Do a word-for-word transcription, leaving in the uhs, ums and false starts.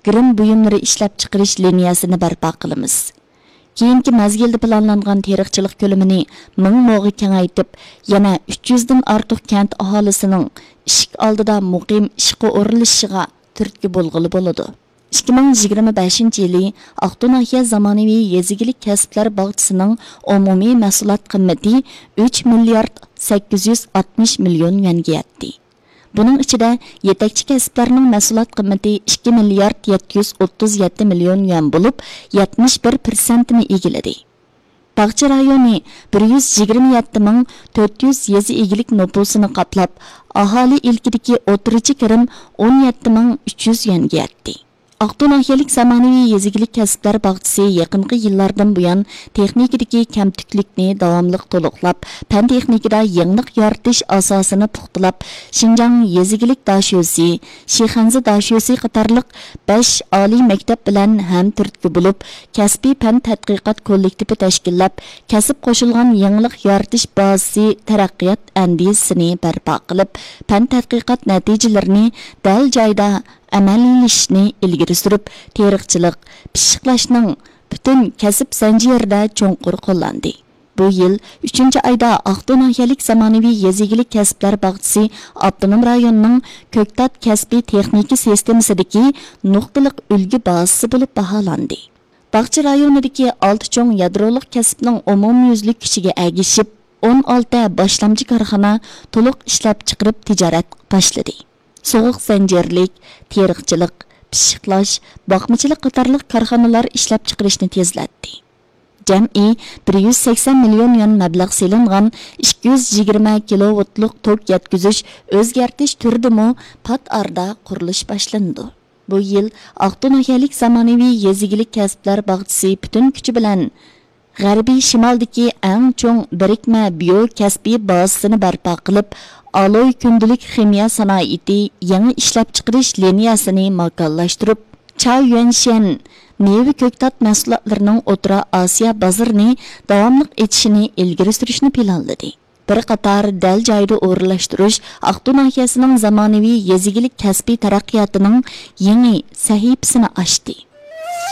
گىرىم بۇيۇملىرى ئىشلەپچىقىرىش لىنىيەسىنى بەرپا قىلىمىز. كېيىنكى مەزگىلدە پىلانلانغان تېرىقچىلىق كۆلىمىنى مىڭ موغا كېڭەيتىپ، يەنە ئۈچ يۈزدىن ئارتۇق كەنت ئاھالىسىنىڭ ئىشىك ئالدىدا مۇقىم ئىشقا ئورۇنلىشىشىغا تۈرتكە بولغىلى بولىدۇ. ئىككى مىڭ يىگىرمە بەشىنچى يىلى ئاقتۇ ناھىيە زامانىۋى يېزا ئىگىلىك كەسىپلەر باغچىسىنىڭ ئومۇمىي مەھسۇلات قىممىتى ئۈچ مىليارد سەككىز يۈز ئاتمىش مىليون يۈەنگە يەتتى. بۇنىڭ ئىچىدە يېتەكچى كەسىپلەرنىڭ مەھسۇلات قىممىتى ئىككى مىليارد يەتتە يۈز ئوتتۇز يەتتە مىليون يۈەن بولۇپ، يەتمىش بىر پىرسەنتنى ئىگىلىدى. باغچە رايونى بىر يۈز يىگىرمە يەتتە مىڭ تۆت يۈز يېزا ئىگىلىك نوپۇسىنى قاپلاپ، ئاھالە ئىلكىدىكى ئوتتۇرىچە كىرىم ئون يەتتە مىڭ ئۈچ يۈز يۈەنگە يەتتى. ئاقتۇ ناھىيەلىك زامانىۋى يېزا ئىگىلىك كەسىپلەر باغچىسى يېقىنقى يىللاردىن بۇيان، تېخنىكىدىكى كەمتۈكلۈكنى داۋاملىق تولۇقلاپ، پەن تېخنىكىدا يېڭىلىق يارىتىش ئاساسىنى پۇختىلاپ، شىنجاڭ يېزا ئىگىلىك داشۆسى، شىخەنزە داشۆسى قاتارلىق بەش ئالىي مەكتەپ بىلەن ھەمتۈرتكە بولۇپ، كەسپىي پەن تەتقىقات كوللېكتىپى تەشكىللەپ، كەسىپ قوشۇلغان يېڭىلىق يارىتىش بازىسى تەرەققىيات ئەندىزىسىنى بەرپا قىلىپ، پەن تەتقىقات نەتىجىلىرىنى دەل جايىدا ئەمەلىيلىشىشنى ئىلگىرى سۈرۈپ، تېرىقچىلىق، پىششىقلاشنىڭ پۈتۈن كەسىپ زەنجىرىدە چوڭقۇر قوللاندى. بۇ يىل ئۈچىنچى ئايدا ئاقتۇ ناھىيەلىك زامانىۋى يېزا ئىگىلىك كەسىپلەر باغچىسى ئاپتونوم رايوننىڭ كۆكتات كەسپىي تېخنىكا سىستېمىسىدىكى نۇقتىلىق ئۈلگە بازىسى بولۇپ باھالاندى. باغچە رايونىدىكى ئالتە چوڭ يادرولۇق كەسىپنىڭ ئومۇميۈزلۈك كۈچىگە ئەگىشىپ، ئون ئالتە باشلامچى كارخانا تولۇق ئىشلەپچىقىرىپ تىجارەت باشلىدى. سوغۇق زەنجىرلىك، تېرىقچىلىق، پىششىقلاش، باقمىچىلىق قاتارلىق كارخانىلار ئىشلەپچىقىرىشنى تېزلەتتى. جەمئىي بىر يۈز سەكسەن مىليون يۈەن مەبلەغ سېلىنغان ئىككى يۈز يىگىرمە كىلوۋولتلۇق توك يەتكۈزۈش ئۆزگەرتىش تۈرىدىمۇ پات ئارىدا قۇرۇلۇش باشلىنىدۇ. بۇ يىل ئاقتۇ ناھىيەلىك زامانىۋى يېزا ئىگىلىك كەسىپلەر باغچىسى پۈتۈن كۈچى بىلەن غەربىي شىمالدىكى ئەڭ چوڭ بىرىكمە بىيو كەسپىي بازىسىنى بەرپا قىلىپ، ئالوي كۈندىلىك خىمىيە سانائىتى يېڭى ئىشلەپچىقىرىش لىنىيەسىنى ماكانلاشتۇرۇپ، چاۋيۈەنشەن مېۋە كۆكتات مەھسۇلاتلىرىنىڭ ئوتتۇرا ئاسىيا بازىرىنى داۋاملىق ئېچىشىنى ئىلگىرى سۈرۈشنى پىلانلىدى. بىر قاتار دەل جايىدا ئورۇنلاشتۇرۇش ئاقتۇ ناھىيەسىنىڭ زامانىۋى يېزا ئىگىلىك كەسپىي تەرەققىياتىنىڭ يېڭى سەھىپىسىنى ئاچتى.